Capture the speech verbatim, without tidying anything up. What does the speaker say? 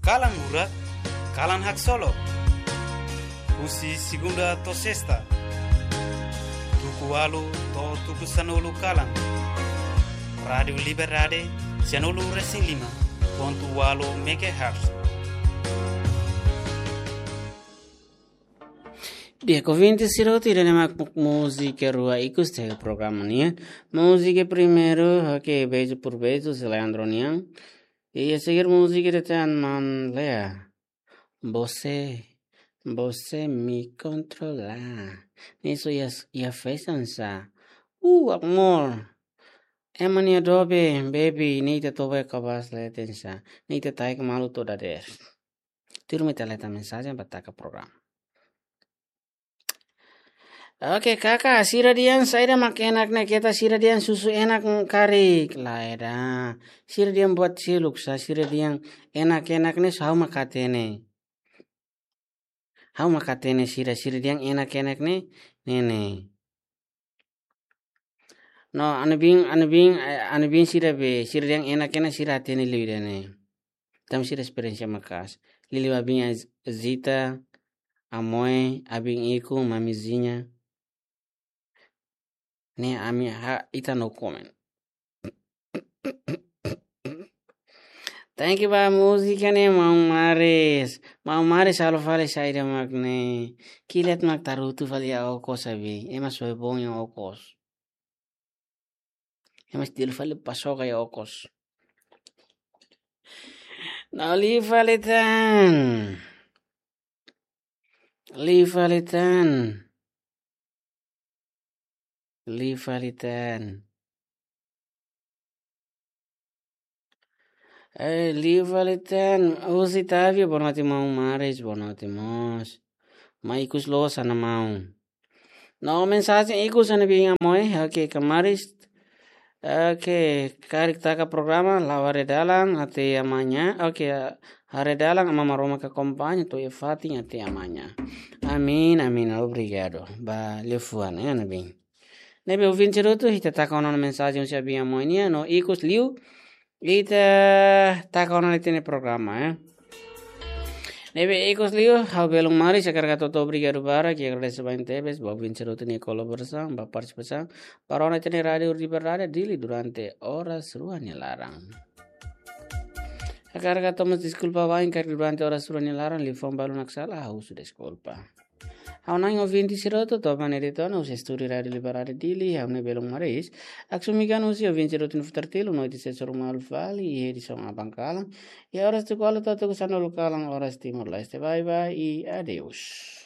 Kalan Hurak, Kalan Haksolok. Husi segunda to'o sesta, tuku ualu to'o tuku sanulu kalan. Rádiu Liberdade, sianulu resin lima pontu ualu megahertz. Di'ak ouvinte sira hotu, ida-ne'e mak múzika rua ikus iha programa nian. Múzika primeiru, oke, Beijo por Beijo, husi Leandro nian. I a seguir múzika ida tan Maun Lea. Você, você me controla. Ne'e só iha, iha festa sa. Uh, amor. Ema nia dobe, baby, ne'e ita toba kabas leten sa. Ne'e ita taik malu toda der. Tuirmai ita leta mensajen ba taka programa. Oke, kaka, sira dehan saida mak enak ne'e, keta sira dehan susu enak karik. Lae ida. Sira dehan buat seluk sa, sira dehan enak-enak ne'e, ha'u mak hatene. Ha'u mak hatene sira, sira dehan enak-enak ne'e, ne'e ne'e. No, anu bin, anu bin, eh, anu bin sira be, sira dehan enak-enak sira hatene liu ida-ne'e. Tanba sira esperiénsia maka'as. Liuliu abin Zita, Amoe, abin Iku, Mamizinha. Ne'e ami ha'u, ita no comment. Thank you ba múzika ne'e, Maun Maris. Maun Maris halo fali saida mak ne'e. Kilat mak tarutu fali iha okos abi. Ema soe bom iha okos. Ema estilo fali pasoka iha okos. No, liu fali tan. Liu fali tan. Liu fali tan. Eh, liu fali tan. Husi Tavio, boa noite, Maun Maris, boa noite mós. Mai ikus loos ona, maun. No, mensajen ikus ona, bin Amoe, oke, Kamaris. Oke, karik taka programa, la'o haree dalan, até amanhã. Oke, haree dalan, Aman Maromak akompaña, to'o iha fatin, até amanhã. Amin, amin, obrigadu. Ba liafuan, eh, ona bin. Ne'ebé ouvinte sira hotu, ita taka ona mensajen husi abin Amoe nian, no ikus liu, ita taka ona ita-nia programa, eh. Ne'ebé ikus liu, ha'u belun Maris, hakarak hato'o obrigadu barak, i agradese barak tebes ba ouvinte sira hotu nia kolaborasaun, ba partisipasaun, ba rona ita-nia Rádiu Liberdade Dili durante oras rua nia laran. Hakarak hato'o mós deskulpa ba imi karik durante oras rua nia laran, liafuan balu mak sala, ha'u husu deskulpa. Ha'u-nia ouvinte sira hotu, to'o ba ne'e de'it ona, husi estúdiu Rádiu Liberdade Dili, ha'u-nia belun Maris. Haksolok mai husi ouvinte sira hotu nia futar tilu, noite sira hotu malu fali, iha edisaun aban kalan. Iha oras tuku ualu to'o tuku sanulu kalan, oras Timor-Leste. Bye bye, i adeus.